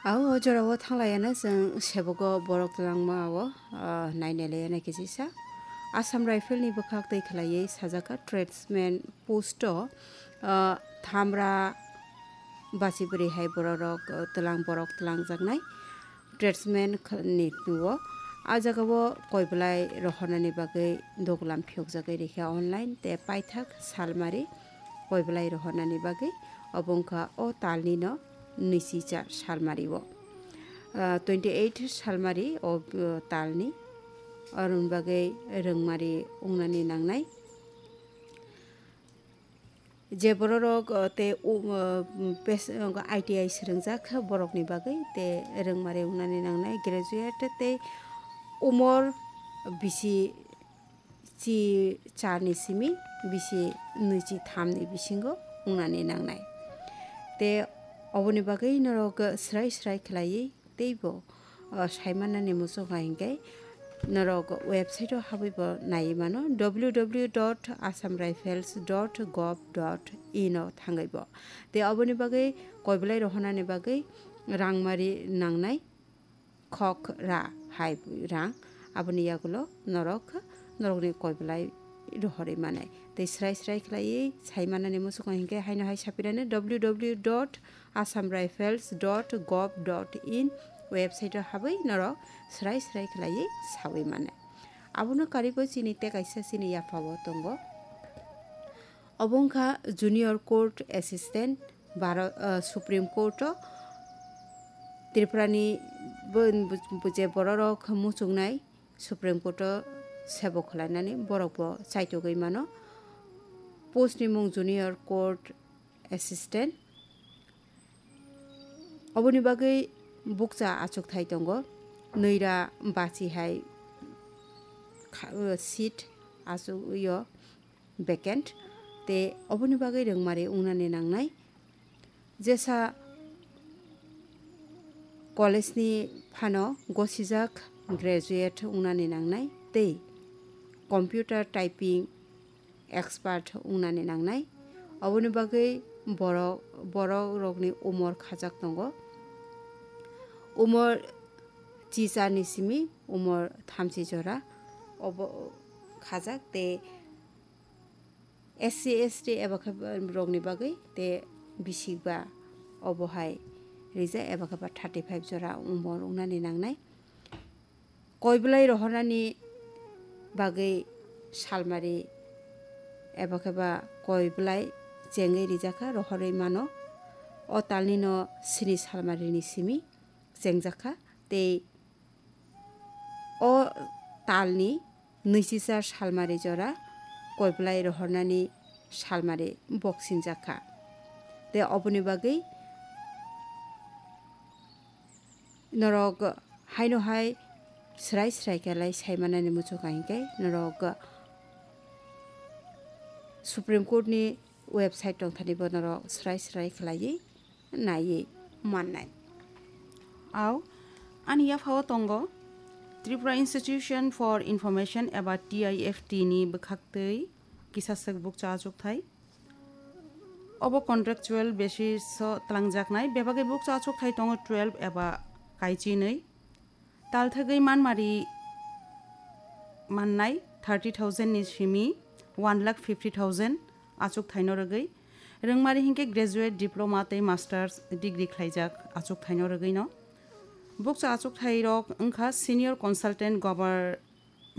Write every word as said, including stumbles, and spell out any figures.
Ao o jorao thanglaiyano chwng sebogo borok twlangma o, ah, nainailaiyana kisa. Assam Rifle ni bwkhak twi khwlaiwi sajak kha tradesman post o, ah, thamra basi bwrwi hai bororok, ah, twlang borok twlangjaknai tradesman kh-, ni o. A jagao koi bwlai rohornani bagwi doglam phiyokjagwi rikha online tei paithak salmari koi bwlai rohornani bagwi obo wngkha o talnino nwichichar salmari o. Ah, twenty eight salmari o, ah, talni. Aroni bagwi rwngmari wngnani nangnai. Je bororok, ah, tei u-, ah, pes-, ah, I T I swrwngjak borokni bagwi tei rwngmari wngnani nangnai graduate tei umor bisi chi charni simi bisi nwichi thamni bisingo wngnani nangnai. Te oboni bagwi norok srai srai khlaiwi teibo, o, saimanani muchungo hinkhe norok website o habwibo naiwi mano, W W W dot assam rifles dot gov dot in o thangwibo. Te oboni bagwi koi bwlai rohornani bagwi rangmari nangnai. Khok ra hai rang, aboni yagulo norok, norokni koi bwlai rohorwi manai. Tei srai srai khlaiwi sai manani muchungo hinkhe haino hai sapirani W W W dot assam rifles dot gov dot in website o habwi norok srai srai khlaiwi sawi manai. Abono karwi bo chini tei kaisa chini yaphao tongo. Obo wngkha Junior Court Assistant, Bharo-, ah, Supreme Court o Tripurani bo, bo, bo je bororok muchungnai Supreme Court o sebo khwlainani borok bo chaitogwi mano. Post ni mung Junior Court Assistant. Oboni bagwi bukcha achukthai tongo, nwira bachi hai kha-, o, seat achugwi o vacant, tei oboni bagwi rwngmari wngnani nangnai. Jesa college ni phano gosijak graduate wngnani nangnai tei computer typing expert wngnani nangnai. Oboni bagwi borok, borok rokni umor khajak tongo. Umor chicharni simi umor thamchi jora obo khajak tei S C S T eba khe rokni bagwi tei bisikba obo hai rijak eba khe ba thirty five jora umor wngnani nangnai. Koi bwlai rohornani bagwi salmari eba khe ba koi bwlai chengwi rijakha rohorwi mano. O talnino sini salmarini simi chengjakha tei o talni nwichichar salmari jora koi bwlai rohornani salmari boksinjakha. Tei oboni bagwi norok haino hai srai srai khe lai sai manani muchungo hinkhe norok Supreme Court ni website tongthani bo norok srai srai khlaiwi naiwi mannai. Ao, ani yaphao tongo Tripura Institution for Information eba T I F T ni bwkhaktwi kisaswk bukcha achukthai. Obo contractual basis o twlangjaknai, bebagwi bukcha achukthai tongo twelve eba kaichinwi. Talthagwi manmari mannai thirty thousand ni simi one lakh fifty thousand achukthaino rwgwi. Rwngmari hinkhe graduate, diploma tei masters degree khlaijak achukthaino rwgwino. Bukcha achukthairok wngkha senior consultant gover-,